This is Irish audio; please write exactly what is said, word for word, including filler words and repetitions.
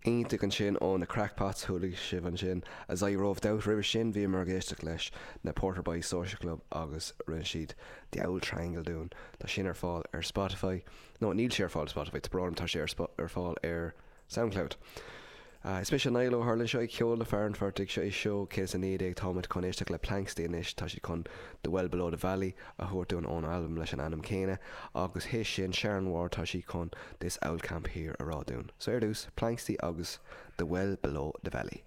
Iontach ansin ó na Crackpots chuala sibh ansin As I Roved Out roimhe sin bhíomar ag éisteacht leis na Porter Boys Social Club agus rinne siad The Owl Triangle dúinn Tá sin ar fáil ar Spotify nó níl sé ar fáil Spotify tá brón tá sé ar fáil ar SoundCloud. Uh, is mise Niall Ó hUrlain seo ag ceol le fear an phortaigh seo é seo céad a naoi déag táimid chun éisteacht le Planxty anois tá siad chun The Well Below the Valley a thabhairt dúinn ón albam leis an ainm céanna agus théis sin Sharon Ward tá sí chun This Owl Camp Here a rá dúinn. So ar dtús Planxty agus The Well Below the Valley.